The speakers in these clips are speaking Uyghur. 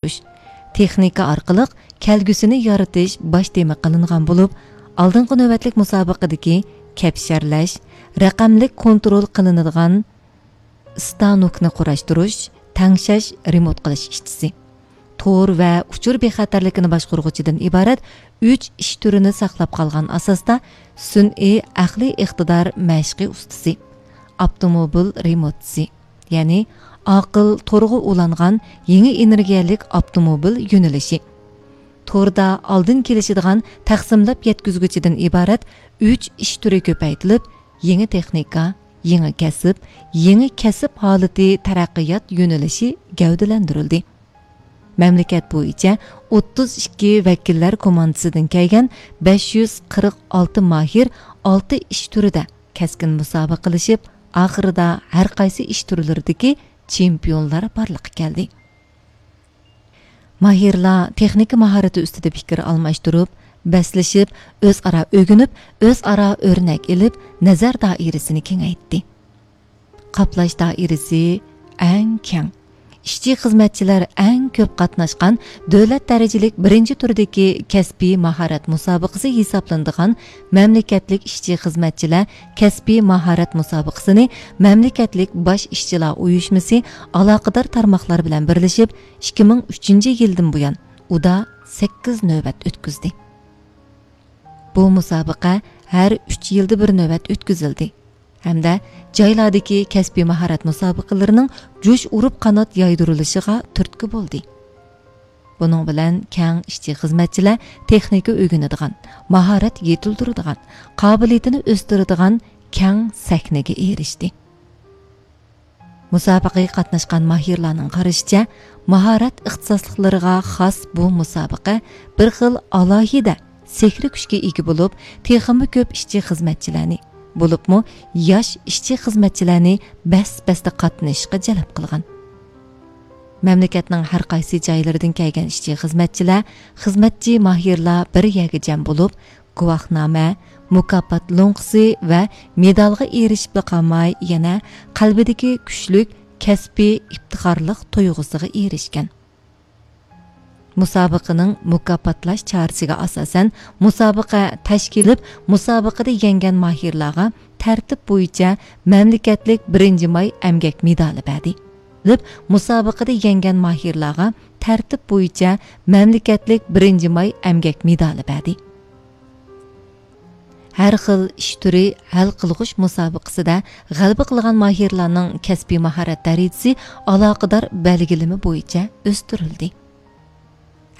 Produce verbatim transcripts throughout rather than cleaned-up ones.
تەڭشەش، تېخنىكا ئارقىلىق كەلگۈسىنى يارىتىش باش تېما قىلىنغان بولۇپ، ئالدىنقى نۆۋەتلىك مۇسابىقىدىكى كەپشەرلەش، رەقەملىك كونترول قىلىنىدىغان ئىستانوكنى قۇراشتۇرۇش، تەڭشەش، رېمونت قىلىش ئىشچىسى، تور ۋە ئۇچۇر بىخەتەرلىكىنى باشقۇرغۇچىدىن ئىبارەت ئۈچ ئىش تۈرىنى ساقلاپ قالغان ئاساستا سۈنئىي ئەقلىي ئىقتىدار مەشقى ئۇستىسى، ئاپتوموبىل رېمونتچىسى، يەنى ئاقىل تورغا ئۇلانغان يېڭى ئېنېرگىيەلىك ئاپتوموبىل يۆنىلىشى، توردا ئالدىن كېلىشىدىغان تەقسىملەپ يەتكۈزگۈچىدىن ئىبارەت ئۈچ ئىش تۈرى كۆپەيتىلىپ، يېڭى تېخنىكا، يېڭى كەسىپ، يېڭى كەسىپ ھالىتى تەرەققىيات يۆنىلىشى گەۋدىلەندۈرۈلدى. مەملىكەت بويىچە ئوتتۇز ئىككى ۋەكىللەر كوماندىسىدىن كەلگەن بەش يۈز قىرىق ئالتە ماھىر ئالتە ئىش تۈرىدە كەسكىن مۇسابىقىلىشىپ، ئاخىرىدا ھەر قايسى ئىش تۈرلىرىدىكى چېمپىيونلار بارلىققا كەلدى. ماھىرلار تېخنىكا ماھارىتى ئۈستىدە پىكىر ئالماشتۇرۇپ، بەسلىشىپ، ئۆزئارا ئۆگىنىپ، ئۆزئارا ئۆرنەك ئېلىپ، نەزەر دائىرىسىنى كېڭەيتتى. قاپلاش دائىرىسى ئەڭ كەڭ، ئىشچى خىزمەتچىلەر ئەڭ كۆپ قاتناشقان دۆلەت دەرىجىلىك بىرىنچى تۈردىكى كەسپىي ماھارەت مۇسابىقىسى ھېسابلىنىدىغان مەملىكەتلىك ئىشچى خىزمەتچىلەر كەسپىي ماھارەت مۇسابىقىسىنى مەملىكەتلىك باش ئىشچىلار ئۇيۇشمىسى ئالاقىدار تارماقلار بىلەن بىرلىشىپ، ئىككى مىڭ ئۈچىنچى يىلدىن بۇيان ئۇدا سەككىز نۆۋەت ئۆتكۈزدى. بۇ مۇسابىقە ھەر ئۈچ يىلدا بىر نۆۋەت ئۆتكۈزۈلدى ھەمدە جايلاردىكى كەسپىي ماھارەت مۇسابىقىلىرىنىڭ جۇش ئۇرۇپ قانات يايدۇرۇلۇشىغا تۈرتكە بولدى. بۇنىڭ بىلەن كەڭ ئىشچى خىزمەتچىلەر تېخنىكا ئۆگىنىدىغان، ماھارەت يېتىلدۈرىدىغان، قابىلىيىتىنى ئۆستۈرىدىغان كەڭ سەھنىگە ئېرىشتى. مۇسابىقىگە قاتناشقان ماھىرلارنىڭ قارىشىچە، ماھارەت ئىختىساسلىقلىرىغا خاس بۇ مۇسابىقە بىر خىل ئالاھىدە سېھرىي كۈچكە ئىگە بولۇپ، تېخىمۇ كۆپ ئىشچى خىزمەتچىلەرنى، بولۇپمۇ ياش ئىشچى خىزمەتچىلەرنى بەس-بەستە قاتنىشىشقا جەلپ قىلغان. مەملىكەتنىڭ ھەر قايسى جايلىرىدىن كەلگەن ئىشچى خىزمەتچىلەر، خىزمەتچى ماھىرلار بىر يەرگە جەم بولۇپ، گۇۋاھنامە، مۇكاپات لوڭقىسى ۋە مېدالغا ئېرىشىپلا قالماي، يەنە قەلبىدىكى كۈچلۈك كەسپىي ئىپتىخارلىق تۇيغۇسىغا ئېرىشكەن. مۇسابىقىنىڭ مۇكاپاتلاش چارىسىگە ئاساسەن، مۇسابىقە تەشكىل قىلىپ، مۇسابىقىدە يەڭگەن ماھىرلارغا تەرتىپ بويىچە مەملىكەتلىك بىرىنچى ماي ئەمگەك مېدالى بەردى. مۇسابىقىدە يەڭگەن ماھىرلارغا تەرتىپ بويىچە مەملىكەتلىك بىرىنچى ماي ئەمگەك مېدالى بەردى. ھەر خىل ئىش تۈرى ھەل قىلغۇچ مۇسابىقىسىدە غەلىبە قىلغان ماھىرلارنىڭ كەسپىي ماھارەت دەرىجىسى ئالاقىدار بەلگىلىمە بويىچە ئۆستۈرۈلدى.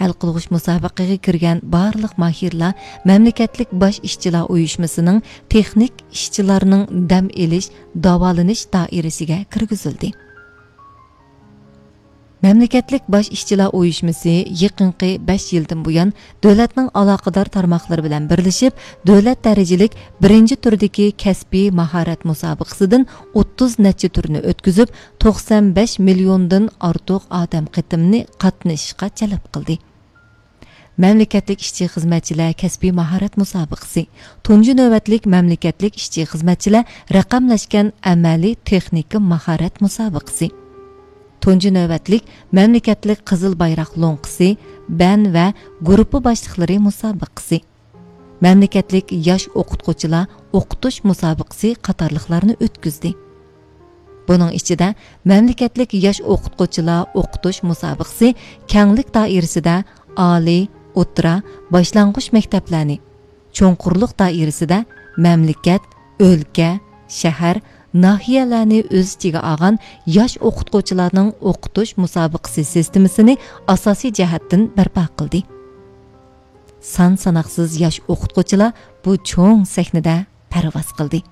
ھەل قىلغۇچ مۇسابىقىگە كىرگەن بارلىق ماھىرلار مەملىكەتلىك باش ئىشچىلار ئۇيۇشمىسىنىڭ تېخنىك ئىشچىلارنىڭ دەم ئېلىش، داۋالىنىش دائىرىسىگە كىرگۈزۈلدى. مەملىكەتلىك باش ئىشچىلار ئۇيۇشمىسى يېقىنقى بەش يىلدىن بۇيان دۆلەتنىڭ ئالاقىدار تارماقلىرى بىلەن بىرلىشىپ، دۆلەت دەرىجىلىك بىرىنچى تۈردىكى كەسپىي ماھارەت مۇسابىقىسىدىن ئوتتۇز نەچچە تۈرنى ئۆتكۈزۈپ، توقسان بەش مىليوندىن ئارتۇق ئادەم قېتىمنى قاتنىشىشقا جەلپ قىلدى. مەملىكەتلىك ئىشچى خىزمەتچىلەر كەسپىي ماھارەت مۇسابىقىسى، تۇنجى نۆۋەتلىك مەملىكەتلىك ئىشچى خىزمەتچىلەر رەقەملەشكەن ئەمەلىي تېخنىكا ماھارەت مۇسابىقىسى، تۇنجى نۆۋەتلىك مەملىكەتلىك قىزىل بايراق لوڭقىسى، بەن ۋە گۇرۇپپا باشلىقلىرى مۇسابىقىسى، مەملىكەتلىك ياش ئوقۇتقۇچىلار ئوقۇتۇش مۇسابىقىسى قاتارلىقلارنى ئۆتكۈزدى. بۇنىڭ ئىچىدە مەملىكەتلىك ياش ئوقۇتقۇچىلار ئوقۇتۇش مۇسابىقىسى كەڭلىك دائىرىسىدە ئالىي، ئوتتۇرا، باشلانغۇچ مەكتەپلەرنى، چوڭقۇرلۇق دائىرىسىدە مەملىكەت، ئۆلكە، شەھەر، ناھىيەلەرنى ئۆز ئىچىگە ئالغان ياش ئوقۇتقۇچىلارنىڭ ئوقۇتۇش مۇسابىقىسى سىستېمىسىنى ئاساسىي جەھەتتىن بەرپا قىلدى. سان ساناقسىز ياش ئوقۇتقۇچىلار بۇ چوڭ سەھنىدە پەرۋاز قىلدى.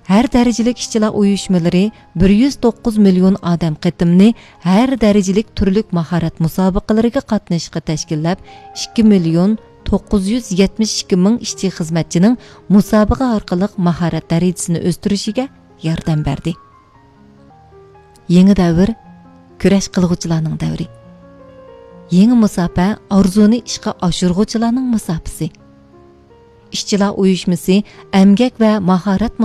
ھەر دەرىجىلىك ئىشچىلار ئۇيۇشمىلىرى بىر يۈز توققۇز مىليون ئادەم قېتىمنى ھەر دەرىجىلىك تۈرلۈك ماھارەت مۇسابىقىلىرىگە قاتنىشىشقا تەشكىللەپ، ئىككى مىليون توققۇز يۈز يەتمىش ئىككى مىڭ ئىشچى خىزمەتچىنىڭ مۇسابىقە ئارقىلىق ماھارەت دەرىجىسىنى ئۆستۈرۈشىگە ياردەم بەردى. يېڭى دەۋر، كۈرەش قىلغۇچىلارنىڭ دەۋرى. يېڭى مۇساپە، ئارزۇنى ئىشقا ئاشۇرغۇچىلارنىڭ مۇساپىسى. ئىشچىلار ئۇيۇشمىسى ئەمگەك ۋە ماھارەت